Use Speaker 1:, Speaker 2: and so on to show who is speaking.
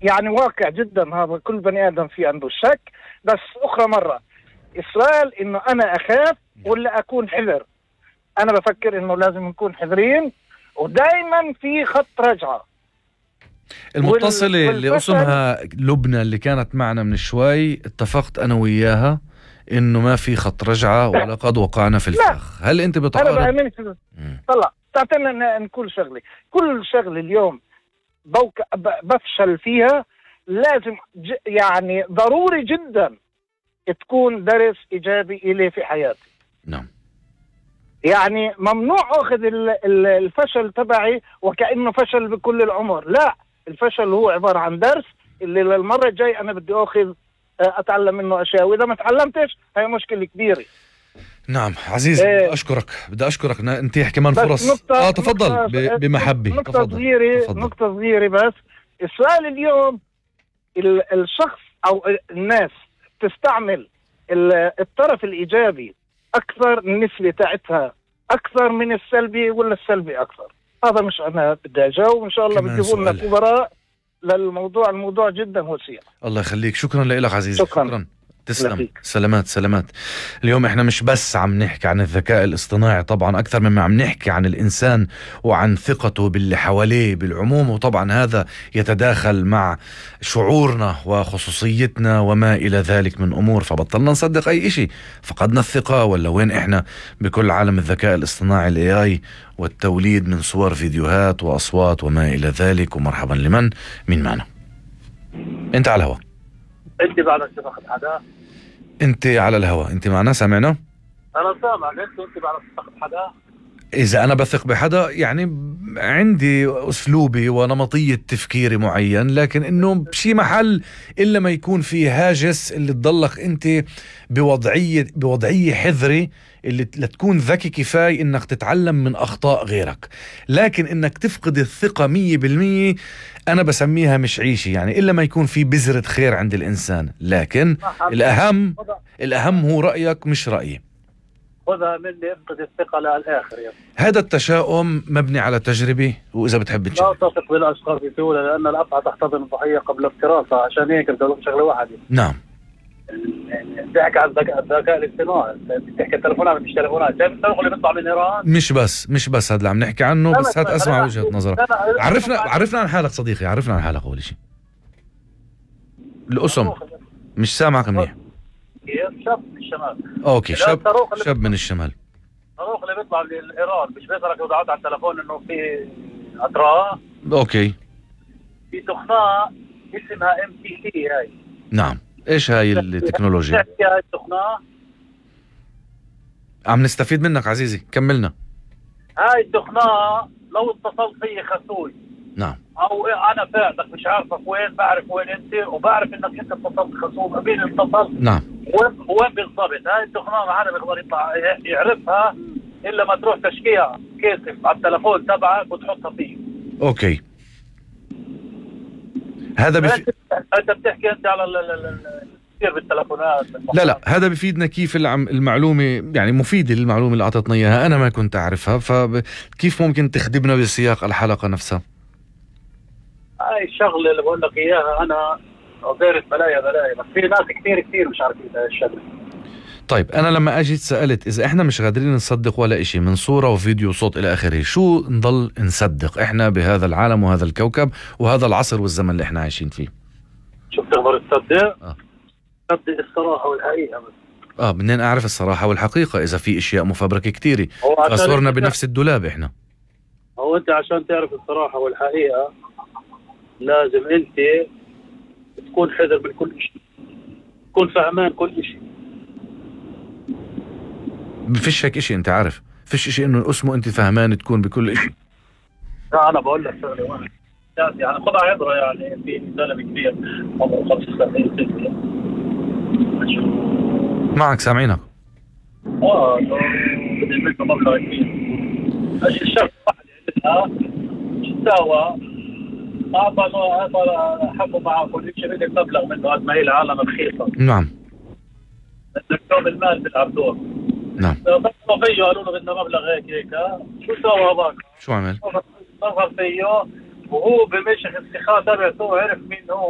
Speaker 1: يعني واقع جدا، هذا كل بني آدم في عنده شك. بس أخرى مرة السؤال إنه أنا أخاف ولا أكون حذر. أنا بفكر إنه لازم نكون حذرين ودائما في خط رجعة.
Speaker 2: المتصلة اللي اسمها لبنى اللي كانت معنا من شوي، اتفقت أنا وياها إنه ما في خط رجعة ولقد وقعنا في الفخ. هل أنت بتعارض؟
Speaker 1: أنا بأمن طلع تعطينا نقول شغلة، كل شغلة اليوم بفشل فيها لازم يعني ضروري جدا تكون درس إيجابي إلي في حياتي.
Speaker 2: نعم.
Speaker 1: يعني ممنوع أخذ الفشل تبعي وكأنه فشل بكل العمر. لا، الفشل هو عبارة عن درس اللي للمرة الجاي أنا بدي أخذ أتعلم منه أشياء، وإذا ما تعلمتش هي مشكلة كبيرة.
Speaker 2: نعم عزيز، بدي أشكرك نتيح كمان فرص. تفضل بمحبة.
Speaker 1: نقطة صغيرة بس. السؤال اليوم الشخص أو الناس تستعمل الطرف الإيجابي أكثر، النسبة تاعتها أكثر من السلبي ولا السلبي أكثر؟ هذا مش أنا بدي أجاوب، وإن شاء الله بتجيبوا لنا خبراء للموضوع. الموضوع جدا وسيع.
Speaker 2: الله يخليك، شكرا لك عزيزي. شكرا. تسلم. سلامات. اليوم احنا مش بس عم نحكي عن الذكاء الاصطناعي، طبعا اكثر مما عم نحكي عن الانسان وعن ثقته باللي حواليه بالعموم، وطبعا هذا يتداخل مع شعورنا وخصوصيتنا وما الى ذلك من امور. فبطلنا نصدق اي اشي، فقدنا الثقة ولا وين احنا بكل عالم الذكاء الاصطناعي الاي والتوليد من صور فيديوهات واصوات وما الى ذلك. ومرحبا لمن مين معنا؟ انت على الهواء.
Speaker 3: انت بعدك تفقد حدا؟
Speaker 2: انت على الهواء، انت معنا سامعنا؟
Speaker 3: انا سامعك. انت بعدك تفقد حدا؟
Speaker 2: اذا انا بثق بحدا يعني عندي اسلوبي ونمطية تفكيري معين، لكن انه بشي محل الا ما يكون في هاجس اللي تضلك انت بوضعية حذري اللي لتكون ذكي كفاية انك تتعلم من اخطاء غيرك. لكن انك تفقد الثقة 100% انا بسميها مش عيشي، يعني الا ما يكون في بذرة خير عند الانسان. لكن الاهم هو رأيك مش رأيي.
Speaker 3: خذها مني، افقد الثقة للآخر يعني.
Speaker 2: هذا التشاؤم مبني على تجربة، وإذا بتحب
Speaker 3: لا تثق بالأشخاص بسهولة، لأن الأفعى تحتضن الضحية قبل افتراسها. عشان هيك بدي أقول شغلة واحدة.
Speaker 2: نعم.
Speaker 3: بتحكي عن الذكاء الاصطناعي، بتحكي التلفونات مش تلفونات. شايف الصاروخ اللي بيطلع من إيران؟
Speaker 2: مش بس هذا اللي عم نحكي عنه، بس هات أسمع وجهة نظرك. عرفنا عن حالك صديقي، عرفنا عن حالك أول شيء. الأسم مش سامعك منيح.
Speaker 3: شاب من الشمال.
Speaker 2: اوكي، شاب من الشمال.
Speaker 3: الصاروخ اللي بيطلع من ايران مش بيظهرك وضعت على التلفون انه في اطراء؟
Speaker 2: اوكي.
Speaker 3: في تقنية اسمها MTT هاي.
Speaker 2: نعم. ايش هاي التكنولوجيا؟
Speaker 3: هاي التقنية
Speaker 2: عم نستفيد منك عزيزي، كملنا.
Speaker 3: هاي التقنية لو اتصلت فيي خسوي،
Speaker 2: نعم،
Speaker 3: او انا فاعلك مش عارفك وين، بعرف وين انت وبعرف انك انت اتصلت خصوم، مين اتصل؟ نعم. وين بالضبط؟ هاي التقنية ما حدا بيقدر يطلع يعرفها الا ما تروح تشكيها كيسف على التلفون تبعك وتحطها فيه.
Speaker 2: اوكي. هذا
Speaker 3: انت بتحكي انت على كثير بالتلفونات.
Speaker 2: لا هذا بفيدنا كيف المعلومة، يعني مفيدة للمعلومة اللي أعطتنا إياها، أنا ما كنت أعرفها، فكيف ممكن تخدمنا بسياق الحلقة نفسها؟
Speaker 3: هاي الشغلة اللي بقول لك إياها أنا غيرت بلايا بس في ناس كثير مش عارفين هاي الشغلة.
Speaker 2: طيب أنا لما أجيت سألت إذا إحنا مش قادرين نصدق ولا إشي من صورة وفيديو وصوت إلى آخره، شو نضل نصدق إحنا بهذا العالم وهذا الكوكب وهذا العصر والزمن اللي إحنا عايشين فيه؟
Speaker 3: شو بتقدر تصدق؟ تصدق الصراحة والحقيقة بس.
Speaker 2: بدنا نعرف الصراحة والحقيقة. إذا في أشياء مفبركة كتيرة فصورنا بنفس الدولاب إحنا.
Speaker 3: هو أنت عشان تعرف الصراحة والحقيقة لازم أنت تكون حذر من كل شيء، تكون فهمان كل شيء.
Speaker 2: فيش هيك إشي، أنت عارف فيش إشي إنه اسمه أنت فهمان تكون بكل إشي.
Speaker 3: لا أنا بقول لك شغلة واحدة يعني خذها عبرة. يعني في زلمة كبير عمره 65
Speaker 2: معك سامعينك.
Speaker 3: بدي منه مبلغ كبير. الشخص واحد عملها سوا أعطى حقه معه كل شيء، بدك مبلغ منه قد ما هي العالم رخيصة.
Speaker 2: نعم.
Speaker 3: بدك توم المال بيلعب دور.
Speaker 2: نعم.
Speaker 3: ضغطوا فيه قالوا له بدنا مبلغ هيك شو سوى هذاك؟
Speaker 2: شو عمل؟
Speaker 3: ضغط فيه وهو بمشي السخاء تبعته عرف مين هو.